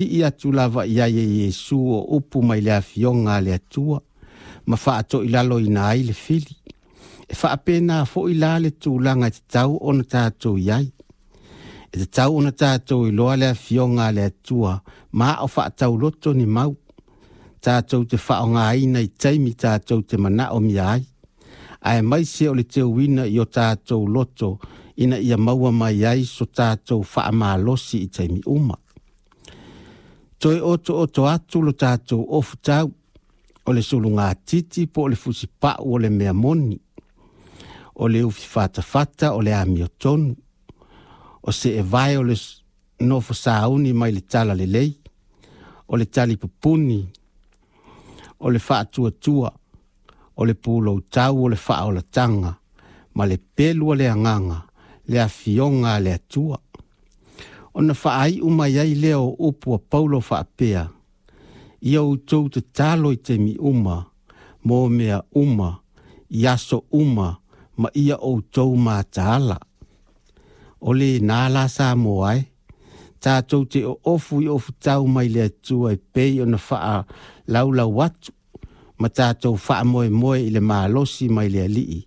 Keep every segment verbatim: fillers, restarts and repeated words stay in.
Sii atu lava i ai e Iesu o upu mai le afioga a le Atua ma faatoilaloina ai le fili. E faapena foi la le tulaga e tatau ona tatou i ai. E tatau ona tatou iloa le afioga a le Atua ma o faatauloto ni mau. Tatou te faaaogaina i taimi tatou te manaomia ai. Aemaise o le teuina i o tatou loto ina ia maua mai ai so tatou faamalosi i taimi uma. Toe otooto atu lo tatou ofutau, o le sulugatiti po o le fusipau o le mea moni, o le ufi fatafata o le amiotonu, o se evae o le nofo sauni mai le tala lelei, o le talipupuni, o le faatuatua, o le puloutau o le faaolataga, ma le pelu o le agaga, le afioga a le Atua. Ona faaiu mai ai lea o upu a Paulo faapea, ia outou tatalo i taimi uma, mo mea uma, i aso uma, ma ia outou mataala. O lenā la Samoa e, tatou te oofu i ofutau mai le Atua e pei ona faalaulau atu, ma tatou faamoemoe i le malosi mai le Alii,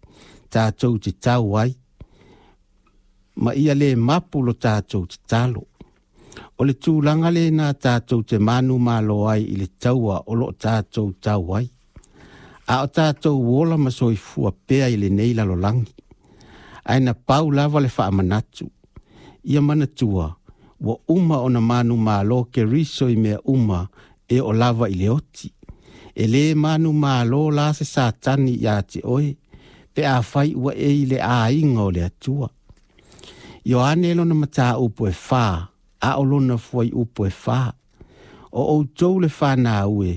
tatou te tau ai, ma ia le mapu lo tatou tatalo. O le tulaga lenā tatou te manumalo ai i le taua o loo tatou tau ai. A o tatou ola ma soifua pea i lenei lalolagi. Ae na pau lava le faamanatu. Ia manatua, ua uma ona manumalo Keriso i mea uma e oo lava i le oti. E le manumalo la se Satani ia te oe, pe afai ua e i le aiga o le Atua. Ioane lona mataupu e fa, a o lona fuaiupu e fa. O outou le fanau e,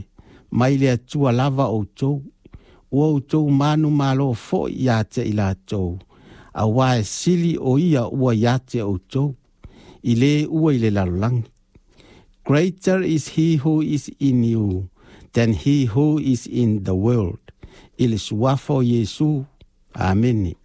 mai le Atua lava outou, ua outou manumalo foi ia te i latou, auā e sili o ia ua ia te outou, i le ua i le lalolagi. Greater is he who is in you than he who is in the world. I le suafa o Iesu. Amene.